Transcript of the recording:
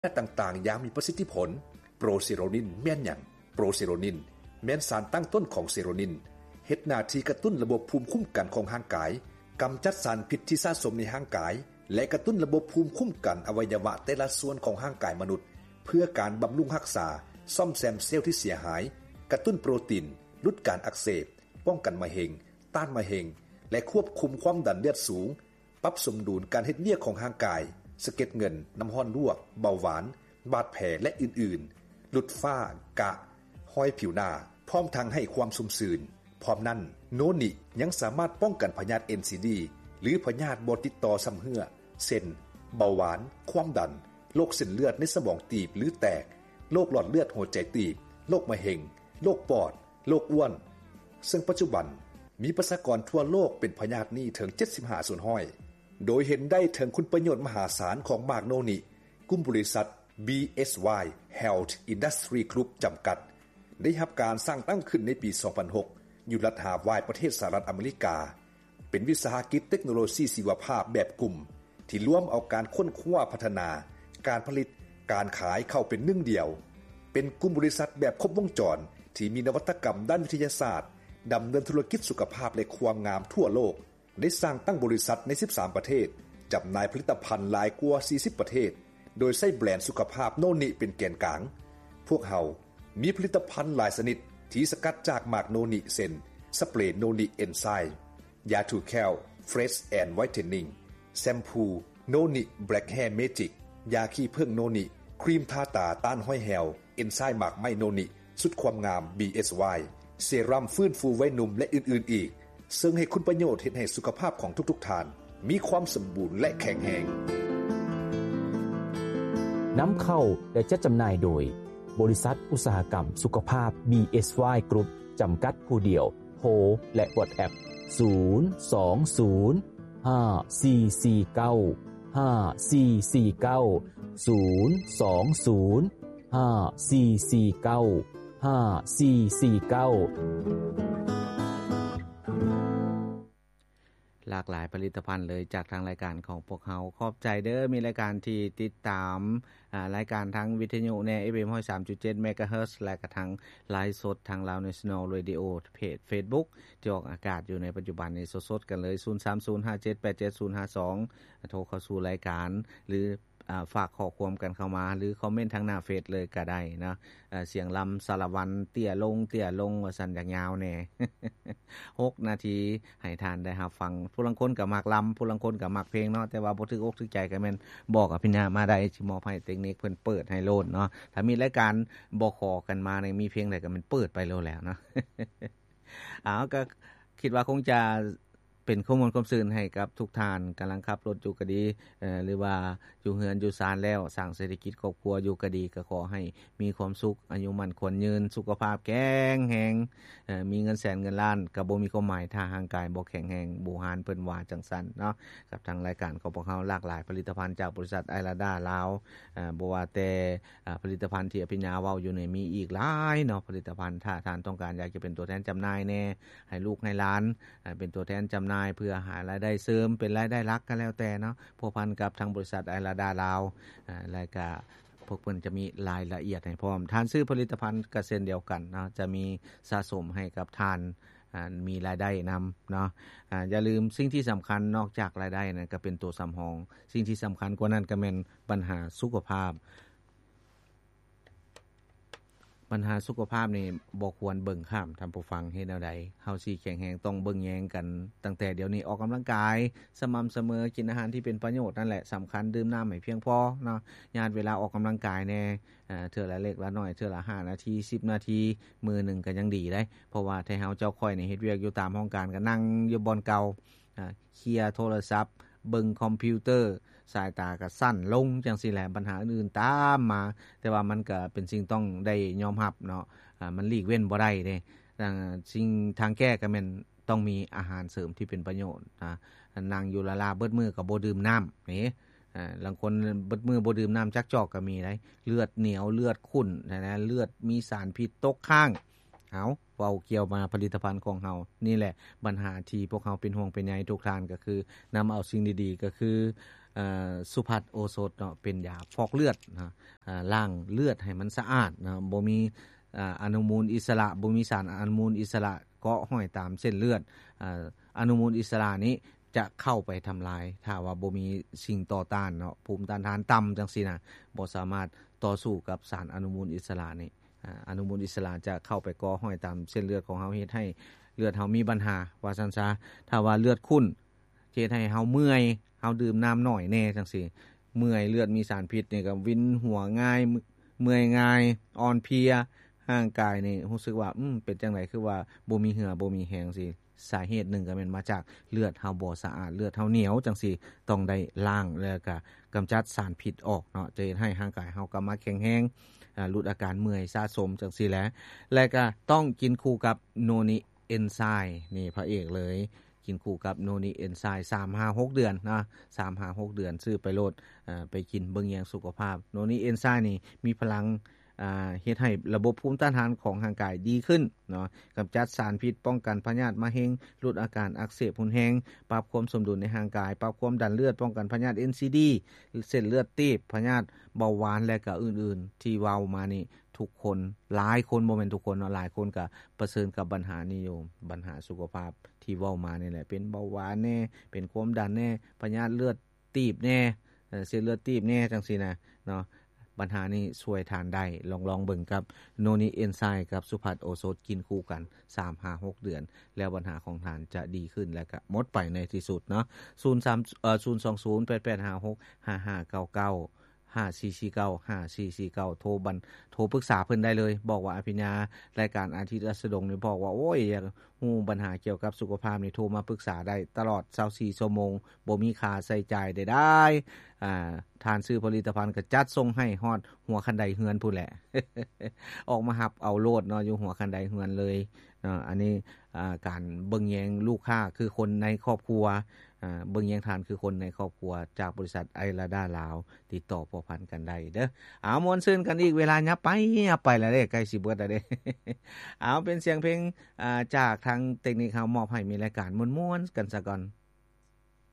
ຕ່າງໆຢ່າງມີປະສິດທິຜົນ. ໂປຣເຊໂຣນິນແມ່ນຫຍັງ? ໂປຣເຊໂຣນິນແມ່ນສານຕັ້ງຕົ້ນຂອງເຊໂຣນິນ, ເຮັດໜ້າທີ່ກະຕຸ້ນລະບົບພູມຄຸ້ມກັນຂອງຮ່າງກາຍ, ກຳຈັດສານພິດທີ່ສະສົມໃນຮ່າງກາຍ ແລະ ກະຕຸ້ນລະບົບພູມຄຸ້ມກັນອະໄວຍະວະແຕ່ລະສ່ວນຂອງຮ່າງກາຍມະນຸດ ເພື່ອການບຳລຸງຮັກສາ, ສ້ອມແຊມເຊວທີ່ເສຍຫາຍ, ກະຕຸ້ນໂປຣຕີນ, ຫຼຸດການອັກເສບ, ປ້ອງກັນມະເຮັງ, ຕ້ານມະເຮັງ ແລະ ຄວບຄຸມຄວາມດັນເລືອດສູງ, ປັບສົມດຸນການເຮັດວຽກຂອງຮ່າງກາຍ, ສະເກັດເງິນ, ນ້ຳຮ້ອນລວກ, ເບົາຫວານ, ບາດແຜ ແລະ ອື່ນໆ, ຫຼຸດຝ້າ, ກະ, ຮອຍຜິວໜ້າ, ພ້ອມທັງໃຫ້ຄວາມຊຸ່ມຊື່ນ. ພ້ອມນັ້ນ, ໂນນິຍັງສາມາດປ້ອງກັນພະຍາດ ເອັນຊີດີ ຫຼື ພະຍາດບໍ່ຕິດຕໍ່ຊຳເຮື້ອ ເຊັ່ນ ເບົາຫວານ, ຄວາມດັນ, ໂລກເສັ້ນເລືອດໃນສະໝອງຕີບ ຫຼື ແຕກ, ໂລກຫຼອດເລືອດຫົວໃຈຕີບ, ໂລກມະເຮັງ, ໂລກປອດ, ໂລກອ້ວນ, ເຊິ່ງປັດຈຸບັນມີປະຊາກອນທົ່ວໂລກເປັນພະຍາດນີ້ເຖິງເຈັດສິບຫ້າສ່ວນຮ້ອຍ ໂດຍເຫັນໄດ້ເຖິງຄຸນປະໂຫຍດມະຫາສານຂອງໝາກໂນນິ. ກຸ່ມບໍລິສັດ ບີເອສວາຍ Health Industry Group ຈຳກັດ ໄດ້ຮັບການສ້າງຕັ້ງຂຶ້ນໃນປີສອງພັນຫົກ ຢູ່ລັດຮາວາຍ ປະເທດສະຫະລັດອາເມລິກາ, ເປັນວິສາຫະກິດເຕັກໂນໂລຊີຊີວະພາບແບບກຸ່ມ ທີ່ລວມເອົາການຄົ້ນຄວ້າ, ພັດທະນາ, ການຜະລິດ, ການຂາຍເຂົ້າເປັນໜຶ່ງດຽວ, ເປັນກຸ່ມບໍລິສັດແບບຄົບວົງຈອນທີ່ມີນະວັດຕະກຳດ້ານວິທະຍາສາດ, ດຳເນີນທຸລະກິດສຸຂະພາບ ແລະ ຄວາມງາມທົ່ວໂລກ, ໄດ້ສ້າງຕັ້ງບໍລິສັດໃນສິບສາມປະເທດ, ຈຳໜ່າຍຜະລິດຕະພັນຫຼາຍກວ່າສີ່ສິບປະເທດ, ໂດຍໃຊ້ແບຣນສຸຂະພາບໂນນິເປັນແກນກາງ. ພວກເຮົາມີຜະລິດຕະພັນຫຼາຍຊະນິດທີ່ສະກັດຈາກໝາກໂນນິ ເຊັ່ນ ສະເປຣໂນນິເອັນໄຊ, ຢາຖູແຂ້ວ Fresh and Whitening, ແຊມພູໂນນິ Black Hair Magic, ຢາຂີ້ເຜິ້ງໂນນິ, ຄຣີມທາຕາຕ້ານຮອຍແຫ້ວ, ເອັນໄຊໝາກໄມ້ໂນນິ, ຊຸດຄວາມງາມ ບີເອສວາຍ, ເຊຣຳຟື້ນຟູໄວໜຸ່ມ ແລະ ອື່ນໆອີກ, ເຊິ່ງໃຫ້ຄຸນປະໂຫຍດເຮັດໃຫ້ສຸຂະພາບຂອງທຸກໆທ່ານມີຄວາມສົມບູນ ແລະ ແຂງແຮງ. ນຳເຂົ້າ ແລະ ຈັດຈຳໜ່າຍໂດຍ ບໍລິສັດອຸດສາຫະກຳສຸຂະພາບ ບີເອສວາຍ Group ຈຳກັດຜູ້ດຽວ. ໂທ ແລະ WhatsApp ສູນ ສອງ ສູນ ຫ້າ ສີ່ ສີ່ ເກົ້າ ຫ້າ ສີ່ ສີ່ ເກົ້າ ສູນ ສອງ ສູນ ຫ້າ ສີ່ ສີ່ ເກົ້າ ຫ້າ ສີ່ ສີ່ ເກົ້າ. ຫຼາກຫຼາຍຜະລິດຕະພັນເລີຍຈາກທາງລາຍການຂອງພວກເຮົາ. ຂອບໃຈເດີ້ ມີລາຍການທີ່ຕິດຕາມ ອາ ລາຍການທາງວິທະຍຸແດ່ ເອັຟເອັມຮ້ອຍສາມຈຸດເຈັດເມກາເຮີດ ແລະ ກະທາງໄລຟ໌ສົດທາງ Lao National Radio ເພຈ Facebook ທີ່ອອກອາກາດຢູ່ໃນປັດຈຸບັນນີ້ ສົດໆກັນເລີຍ ສູນສາມສູນ ຫ້າເຈັດແປດເຈັດສູນຫ້າສອງ ໂທເຂົ້າສູ່ລາຍການ ຫຼື ອາ ຝາກຂໍ້ຄວາມກັນເຂົ້າມາ ຫຼື ຄອມເມັນທາງໜ້າເຟສເລີຍກະໄດ້ເນາະ. ອາ ສຽງລຳສາລະວັນ ເຕ້ຍລົງ ເຕ້ຍລົງ ວ່າຊັ້ນ ຢາກຍາວແດ່ ຫົກນາທີ ໃຫ້ທ່ານໄດ້ຮັບຟັງ. ຜູ້ລາງຄົນກໍມັກລຳ ຜູ້ລາງຄົນກໍມັກເພງເນາະ ແຕ່ວ່າບໍ່ຖືກອົກຖືກໃຈກໍແມ່ນບອກອະພິນຍາມາໄດ້ ຊິມອບໃຫ້ເຕັກນິກເພິ່ນເປີດໃຫ້ໂລດເນາະ. ຖ້າມີລາຍການບໍ່ຂໍກັນມານີ້ ມີເພງໃດກໍແມ່ນເປີດໄປໂລດແລ້ວເນາະ. ເອົາ ກໍຄິດວ່າຄົງຈະເປັນຄວາມມ່ວນຄວາມຊື່ນໃຫ້ກັບທຸກທ່ານ ກຳລັງຂັບລົດຢູ່ກໍດີ ເອີ ຫຼືວ່າຢູ່ເຮືອນຢູ່ຊານແລ້ວ ສ້າງເສດຖະກິດຄອບຄົວຢູ່ກໍດີ ກໍຂໍໃຫ້ ມີຄວາມສຸກ ອາຍຸໝັ້ນຂວັນຍືນ ສຸຂະພາບແຂງແຮງ ເອີ ມີເງິນແສນເງິນລ້ານກໍບໍ່ມີຄວາມໝາຍ ຖ້າຮ່າງກາຍບໍ່ແຂງແຮງ ບູຮານເພິ່ນວ່າຈັ່ງຊັ້ນເນາະ. ກັບທາງລາຍການຂອງພວກເຮົາ ຫຼາກຫຼາຍຜະລິດຕະພັນຈາກບໍລິສັດໄອລາດາລາວ ເອີ ບໍ່ວ່າແຕ່ ອາ ຜະລິດຕະພັນທີ່ອະພິນຍາເວົ້າຢູ່ນີ້ ມີອີກຫຼາຍເນາະ ຜະລິດຕະພັນ. ຖ້າທ່ານຕ້ອງການຢາກຈະເປັນຕົວແທນຈຳໜ່າຍແດ່ ໃຫ້ລູກໃຫ້ຫຼານ ອາ ເປັນຕົວແທນຈຳໜ່າຍ ເພື່ອຫາລາຍໄດ້ເສີມ ເປັນລາຍໄດ້ຫຼັກກໍແລ້ວແຕ່ເນາະ ພົວພັນກັບທາງບໍລິສັດໄອລາດາລາວ ອາ ແລະກະ ພວກເພິ່ນຈະມີລາຍລະອຽດໃຫ້ພ້ອມ. ທ່ານຊື້ຜະລິດຕະພັນກໍເຊັ່ນດຽວກັນເນາະ ຈະມີສະສົມໃຫ້ກັບທ່ານ ອາ ມີລາຍໄດ້ນຳເນາະ. ອາ ຢ່າລືມ ສິ່ງທີ່ສຳຄັນນອກຈາກລາຍໄດ້ນັ້ນ ກໍເປັນຕົວສຳຮອງ. ສິ່ງທີ່ສຳຄັນກວ່ານັ້ນກໍແມ່ນບັນຫາສຸຂະພາບ. ບັນຫາສຸຂະພາບນີ້ບໍ່ຄວນເບິ່ງຂ້າມ ທ່ານຜູ້ຟັງ. ເຮັດແນວໃດເຮົາຊິແຂງແຮງ? ຕ້ອງເບິ່ງແຍງກັນຕັ້ງແຕ່ດຽວນີ້. ອອກກຳລັງກາຍສະໝ່ຳສະເໝີ, ກິນອາຫານທີ່ເປັນປະໂຫຍດນັ້ນແຫຼະສຳຄັນ, ດື່ມນ້ຳໃຫ້ພຽງພໍເນາະ. ຍາດເວລາອອກກຳລັງກາຍແດ່ ເທື່ອລະເລັກລະນ້ອຍ, ເທື່ອລະຫ້ານາທີ ສິບນາທີ, ມື້ໜຶ່ງກໍຍັງດີເດ້. ເພາະວ່າໄທເຮົາເຈົ້າຂ້ອຍນີ້ເຮັດວຽກຢູ່ຕາມຫ້ອງການ ກໍນັ່ງຢູ່ບ່ອນເກົ່າ, ເຄຍໂທລະສັບ, ເບິ່ງຄອມພິວເຕີ, ສາຍຕາກໍສັ້ນລົງ ຈັ່ງຊີ້ແຫຼະ. ບັນຫາອື່ນໆຕາມມາ, ແຕ່ວ່າມັນກໍເປັນສິ່ງຕ້ອງໄດ້ຍອມຮັບເນາະ, ມັນຫຼີກເວັ້ນບໍ່ໄດ້ເດ້. ສິ່ງທາງແກ້ກໍແມ່ນ ຕ້ອງມີອາຫານເສີມທີ່ເປັນປະໂຫຍດນະ. ນັ່ງຢູ່ລ້າໆເບິດມື້ກໍບໍ່ດື່ມນ້ຳນີ້, ອາ ລາງຄົນເບິດມື້ບໍ່ດື່ມນ້ຳຈັກຈອກກໍມີໄດ໋. ເລືອດໜຽວ, ເລືອດຂຸ້ນນະ, ເລືອດມີສານພິດຕົກຄ້າງ. ເອົາ ເວົ້າກ່ຽວມາຜະລິດຕະພັນຂອງເຮົານີ້ແຫຼະ, ບັນຫາທີ່ພວກເຮົາເປັນຫ່ວງເປັນໃຍທຸກທ່ານ ກໍຄືນຳເອົາສິ່ງດີໆ ກໍຄື ເອີ ສຸພັດໂອສົດເນາະ ເປັນຢາຟອກເລືອດນະ ເອີ ລ້າງເລືອດໃຫ້ມັນສະອາດນະ ບໍ່ມີ ເອີ ອະນຸມູນອິດສະຫຼະ ບໍ່ມີສານອະນຸມູນອິດສະຫຼະເກາະຫ້ອຍຕາມເສັ້ນເລືອດ. ເອີ ອະນຸມູນອິດສະຫຼະນີ້ຈະເຂົ້າໄປທຳລາຍ ຖ້າວ່າບໍ່ມີສິ່ງຕໍ່ຕ້ານເນາະ ພູມຕ້ານທານຕ່ຳຈັ່ງຊີ້ນະ ບໍ່ສາມາດຕໍ່ສູ້ກັບສານອະນຸມູນອິດສະຫຼະນີ້. ອາ ອະນຸມູນອິດສະຫຼະຈະເຂົ້າໄປເກາະຫ້ອຍຕາມເສັ້ນເລືອດຂອງເຮົາ ເຮັດໃຫ້ເລືອດເຮົາມີບັນຫາ ວ່າຊັ້ນຊະ. ຖ້າວ່າເລືອດຂຸ້ນ ຈະເຮັດໃຫ້ເຮົາເມື່ອຍ ເຮົາດື່ມນ້ຳໜ້ອຍແດ່ຈັ່ງຊີ້ ເມື່ອຍ ເລືອດມີສານພິດນີ້ກໍວິນຫົວງ່າຍ ເມື່ອຍງ່າຍ ອ່ອນເພຍ ຮ່າງກາຍນີ້ຮູ້ສຶກວ່າ ອືມ ເປັນຈັ່ງໃດ ຄືວ່າບໍ່ມີເຫື່ອບໍ່ມີແຮງຊີ້. ສາເຫດໜຶ່ງກໍແມ່ນມາຈາກເລືອດເຮົາບໍ່ສະອາດ ເລືອດເຮົາໜຽວຈັ່ງຊີ້ ຕ້ອງໄດ້ລ້າງ ແລ້ວກໍກຳຈັດສານພິດອອກເນາະ ຈະເຮັດໃຫ້ຮ່າງກາຍເຮົາກັບມາແຂງແຮງ ອາ ຫຼຸດອາການເມື່ອຍສະສົມຈັ່ງຊີ້ແຫຼະ. ແລະກໍຕ້ອງກິນຄູ່ກັບໂນນິເອນໄຊ ນີ້ພະເອກເລີຍ ກິນຄູ່ກັບໂນນິເອນໄຊ ສາມຫາຫົກເດືອນນະ ສາມຫາຫົກເດືອນ ຊື້ໄປໂລດ ເອີ ໄປກິນເບິ່ງແຍງສຸຂະພາບ. ໂນນິເອນໄຊນີ້ມີພະລັງ ອ່າ ເຮັດໃຫ້ລະບົບພູມຕ້ານທານຂອງຮ່າງກາຍດີຂຶ້ນເນາະ ກຳຈັດສານພິດ ປ້ອງກັນພະຍາດມະເຮັງ ຫຼຸດອາການອັກເສບຮຸນແຮງ ປັບຄວາມສົມດຸນໃນຮ່າງກາຍ ປັບຄວາມດັນເລືອດ ປ້ອງກັນພະຍາດ ເອັນຊີດີ ເສັ້ນເລືອດຕີບ ພະຍາດເບົາຫວານ ແລະກະອື່ນໆ ທີ່ເວົ້າມານີ້ ທຸກຄົນ ຫຼາຍຄົນ ບໍ່ແມ່ນທຸກຄົນເນາະ ຫຼາຍຄົນກະປະເຊີນກັບບັນຫານີ້ຢູ່ ບັນຫາສຸຂະພາບທີ່ເວົ້າມານີ້ແຫຼະ ເປັນເບົາຫວານແດ່ ເປັນຄວາມດັນແດ່ ພະຍາດເລືອດ ຕີບແດ່ ເອີ ເສັ້ນເລືອດຕີບແດ່ ຈັ່ງຊີ້ນະເນາະ ບັນຫານີ້ຊ່ວຍທ່ານໄດ້ ລອງ ລອງເບິ່ງກັບໂນນິເອນໄຊ ກັບສຸພັດໂອສົດ ກິນຄູ່ກັນ ສາມຫາຫົກເດືອນ ແລ້ວບັນຫາຂອງທ່ານຈະດີຂຶ້ນ ແລະກະໝົດໄປໃນທີ່ສຸດເນາະ. ສູນສາມ ເອີ ສູນສອງສູນ ແປດແປດຫ້າຫົກ ຫ້າຫ້າເກົ້າເກົ້າ ຫ້າສີ່ສີ່ເກົ້າ ຫ້າສີ່ສີ່ເກົ້າ ໂທບັນ ໂທປຶກສາເພິ່ນໄດ້ເລີຍ ບອກວ່າ ອາພິນຍາ ລາຍການອາທິດລາຊະດົງນີ້ ບອກວ່າ ໂອ້ຍ ຢາກ ຮູ້ບັນຫາກ່ຽວກັບສຸຂະພາບນີ້ ໂທມາປຶກສາໄດ້ຕະຫຼອດຊາວສີ່ຊົ່ວໂມງ ບໍ່ມີຄ່າໃຊ້ຈ່າຍໃດໆ. ອາ ທ່ານຊື້ຜະລິດຕະພັນກໍຈັດສົ່ງໃຫ້ຮອດຫົວຄັນໄດເຮືອນພຸ້ນແຫຼະ ອອກມາຮັບເອົາໂລດເນາະ ຢູ່ຫົວຄັນໄດເຮືອນເລີຍເນາະ. ອັນນີ້ ອາ ການເບິ່ງແຍງລູກຄ້າຄືຄົນໃນຄອບຄົວ ອາ ເບິ່ງແຍງທ່ານຄືຄົນໃນຄອບຄົວ ຈາກບໍລິສັດໄອລາດາລາວ ຕິດຕໍ່ພົວພັນກັນໄດ້ເດີ້. ເອົາ ມ່ວນຊື່ນກັນອີກ ເວລາຫຍັບໄປຫຍັບໄປແລ້ວເດ້ ໃກ້ຊິເບິດແລ້ວເດ້. ເອົາ ເປັນສຽງເພງ ອາ ຈາກທາງເຕັກນິກເຮົາມອບໃຫ້ ມີລາຍການມ່ວນໆກັນສາກ່ອນ.